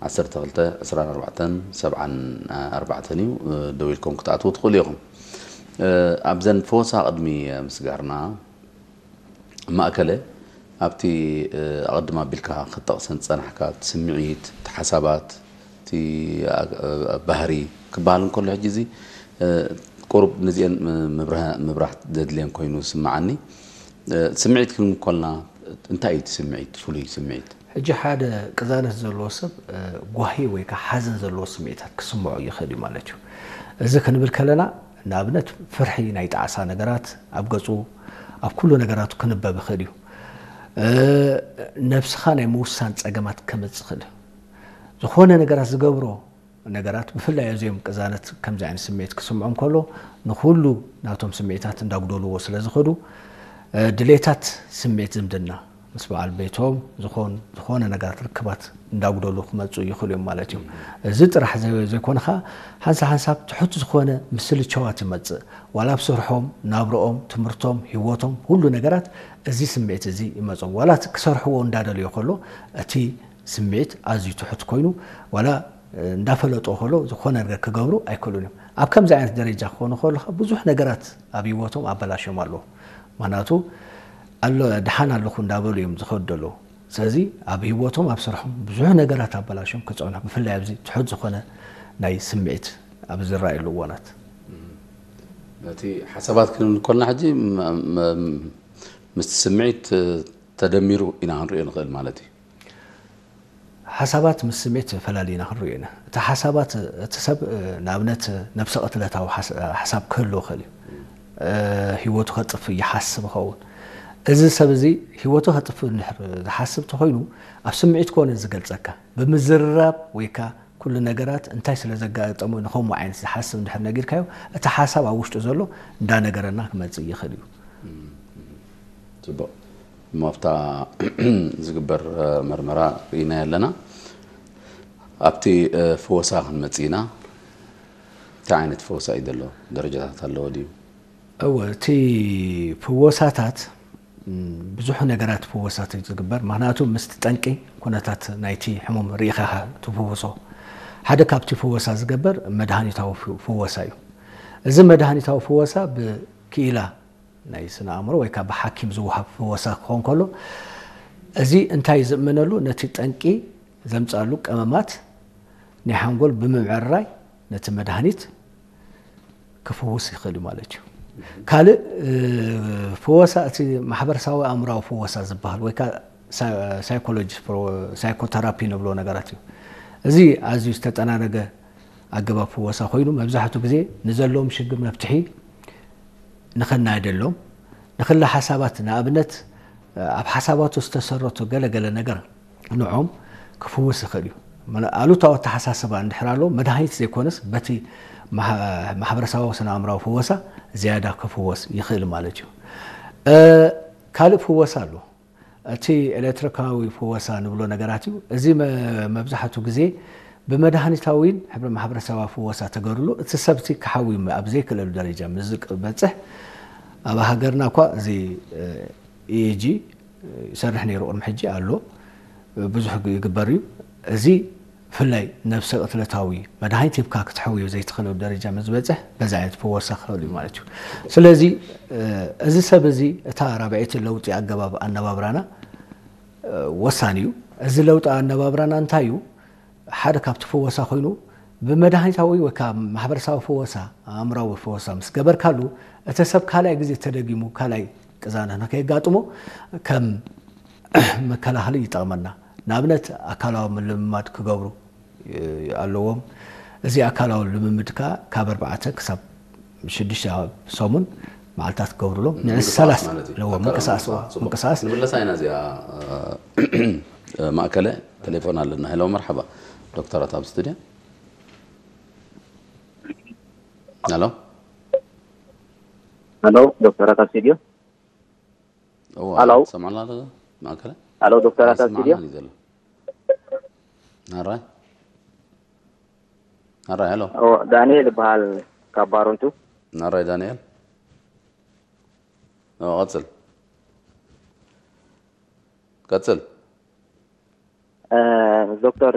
ዓሰርተ ክልተ ዕስራን ኣርባዕተን ሰብዓን ኣርባዕተን እዩ። ደዊልኩም ክትኣትዉ ትኽእሉ ኢኹም። ኣብዘን ፈወሳ ቅድሚ ምስጋርና ማእከለ ኣብቲ ኣቐድም ኣቢልካ ክትጠቕሰን ዝጸናሕካ እቲ ስምዒት፣ እቲ ሓሳባት፣ እቲ ባህሪ ክበሃል እንከሎ ሕጂ እዚ ቁሩብ ነዚአን ምብራህ ዘድልየን ኮይኑ ዝስምዓኒ። ስምዒት ክንብል ከለና እንታይ እዩ እቲ ስምዒት፣ ፍሉይ ስምዒት? ሕጂ ሓደ ቅዛነት ዘለዎ ሰብ ጓሂ ወይ ከዓ ሓዘን ዘለዎ ስምዒታት ክስምዖ ይኽእል እዩ ማለት እዩ። እዚ ክንብል ከለና ንኣብነት ፍርሒ ናይ ጣዕሳ ነገራት ኣብ ገጹ ኣብ ኩሉ ነገራቱ ክንበብ ይኽእል እዩ። ነብስኻ ናይ ምውሳን ጸገማት ከመጽእ ይኽእል እዩ። ዝኾነ ነገራት ዝገብሮ ነገራት ብፍላይ እዚኦም ቅዛነት ከምዚ ዓይነት ስምዒት ክስምዖም ከሎ ንኹሉ ናቶም ስምዒታት እንዳጉደልዎ ስለ ዝኸዱ ድሌታት ስምዒት ዝምድና ምስ በዓል ቤቶም ዝኾን ዝኾነ ነገራት ርክባት እንዳጉደሉ ክመፁ ይኽእሉ እዮም ማለት እዩ። እዚ ጥራሕ ዘይኮነ ከዓ ሓንሳ ሓንሳብ ትሑት ዝኾነ ምስልቸዋት ይመፅእ። ዋላ ኣብ ስርሖም፣ ናብርኦም፣ ትምህርቶም፣ ህይወቶም፣ ሁሉ ነገራት እዚ ስምዒት እዚ ይመፆም። ዋላ ክሰርሕዎ እንዳደለዮ ከሎ እቲ ስምዒት ኣዝዩ ትሑት ኮይኑ ዋላ እንዳፈለጦ ከሎ ዝኾነ ነገር ክገብሩ ኣይክእሉን እዮም። ኣብ ከምዚ ዓይነት ደረጃ ክኾኑ ከለኻ ብዙሕ ነገራት ኣብ ህይወቶም ኣበላሽዮም ኣለዉ። ምክንያቱ ኣሎ ድሓን ኣለኹ እንዳበሉ እዮም ዝኸዱ ዘለዉ። ስለዚ ኣብ ህይወቶም ኣብ ስርሖም ብዙሕ ነገራት ኣበላሽዮም ክፀንሑ ብፍላይ ኣብዚ ትሑት ዝኾነ ናይ ስምዒት ኣብ ዝረኣየሉ እዋናት እቲ ሓሳባት ክንብል ከልና ሕጂ ምስቲ ስምዒት ተደሚሩ ኢና ክንሪኦ ንኽእል ማለት እዩ። ሓሳባት ምስ ስሜት ፈላሊና ክንሪኦ ኢና። እቲ ሓሳባት እቲ ሰብ ንኣብነት ነብሰ ቅትለታዊ ሓሳብ ክህልዎ ይኽእል እዩ። ህይወቱ ከጥፍእ ይሓስብ ይኸውን። እዚ ሰብ እዚ ህይወቱ ከጥፍእ እንድሕር ዝሓስብ ተኾይኑ ኣብ ስምዒት ኮነ ዝገልጸካ ብምዝርራብ ወይ ከዓ ኩሉ ነገራት እንታይ ስለ ዘጋጠሞ ንኸምኡ ዓይነት ዝሓስብ እንድሕር ነጊርካዮ እቲ ሓሳብ ኣብ ውሽጡ ዘሎ እንዳነገረና ክመፅእ ይኽእል እዩ። ፅቡቕ እሞ ኣብታ ዝግበር መርመራ ርኢናዮ ኣለና። ኣብቲ ፍወሳ ክንመፅእ ኢና። እንታይ ዓይነት ፍወሳ እዩ ዘሎ? ደረጃታት ኣለዎ ድዩ? እወ፣ እቲ ፍወሳታት ብዙሕ ነገራት ፍወሳት እዩ ዝግበር። ምክንያቱ ምስቲ ጠንቂ ኩነታት ናይቲ ሕሙም ርኢኻ ኢኻ ትፍውሶ። ሓደ ካብቲ ፍወሳ ዝገበር መድሃኒታዊ ፍወሳ እዩ። እዚ መድሃኒታዊ ፍወሳ ብክኢላ ናይ ስነ ኣእምሮ ወይ ከዓ ብሓኪም ዝወሃብ ፍወሳ ክኸውን ከሎ እዚ እንታይ ዝእመነሉ ነቲ ጠንቂ ዘምፅኣሉ ቀመማት ናይ ሓንጎል ብምምዕርራይ ነቲ መድሃኒት ክፍውስ ይኽእል እዩ ማለት እዩ። ካልእ ፍወሳ እቲ ማሕበረሰባዊ ኣእምራዊ ፍወሳ ዝበሃል ወይ ከዓ ሳይኮሎጂ ሳይኮተራፒ ንብሎ ነገራት እዩ። እዚ ኣዝዩ ዝተጠናነገ ኣገባብ ፍወሳ ኮይኑ መብዛሕትኡ ግዜ ንዘለዎም ሽግር መፍትሒ ንኸናየደሎም ንክለ ሓሳባት ንኣብነት ኣብ ሓሳባቱ ዝተሰረቱ ገለገለ ነገር ንዖም ክፍውስ ይኽእል እዩ። ኣሉታዊ ኣተሓሳስባ እንድሕር ኣሎ መድሃኒት ዘይኮነስ በቲ ማሕበረሰባዊ ስነ ኣእምራዊ ፍወሳ ዝያዳ ክፍወስ ይኽእል ማለት እዩ። ካልእ ፍወሳ ኣሎ። እቲ ኤሌክትሪካዊ ፍወሳ ንብሎ ነገራት እዩ። እዚ መብዛሕቱ ግዜ ብመድሃኒታዊን ሕብረ ማሕበረሰባዊ ፍወሳ ተገርሉ እቲ ሰብቲ ክሓዊ ኣብ ዘይክእለሉ ደረጃ ምስ ዝበፅሕ ኣብ ሃገርና እኳ እዚ ኢኤጂ ይሰርሕ ነይሩ ቅድሚ ሕጂ ኣሎ ብዙሕ ይግበር እዩ። እዚ ብፍላይ ነብሰ ቅትለታዊ መድሃኒት ሂብካ ክትሕውዮ ዘይትኽእለሉ ደረጃ ምስ ዝበፅሕ በዚ ዓይነት ፍወሳ ክኽእል እዩ ማለት እዩ። ስለዚ እዚ ሰብ እዚ እታ ራብዐይቲ ለውጢ ኣገባብ ኣነባብራና ወሳኒ እዩ። እዚ ለውጢ ኣነባብራና እንታይ እዩ? ሓደ ካብቲ ፍወሳ ኮይኑ ብመድሃኒታዊ ወይ ከዓ ማሕበረሰባዊ ፍወሳ ኣእምራዊ ፍወሳ ምስ ገበርካሉ እቲ ሰብ ካልኣይ ግዜ ተደጊሙ ካልኣይ ቅዛነት ንከየጋጥሞ ከም መከላኸሊ ይጠቕመና። ንኣብነት ኣካላዊ ምልምማድ ክገብሩ ኣለዎም። እዚ ኣካላዊ ልምምድ ከዓ ካብ ኣርባዕተ ክሳብ ሽዱሽተ ሰሙን መዓልታት ክገብሩሎም ንዕስ ሰላሳ ኣለዎ ምንቅስቃስ ምንቅስቃስ ንብለሳ ኢና እዚኣ ማእከለ ቴሌፎን ኣለና ሄሎ መርሓባ ዶክተራት ኣብ ስቱድዮ ሄሎ ሄሎ ዶክተራት ኣብ ስቱድዮ ሄሎ ሰማዕና ኣሎ ማእከለ ሄሎ ዶክተራት ኣብ ስቱድዮ ናራይ ናራይ ሄሎ ዳንኤል ይበሃል ካብ ባሮንቱ ናራይ ዳንኤል ቀፅል ቀፅል ምስ ዶክተር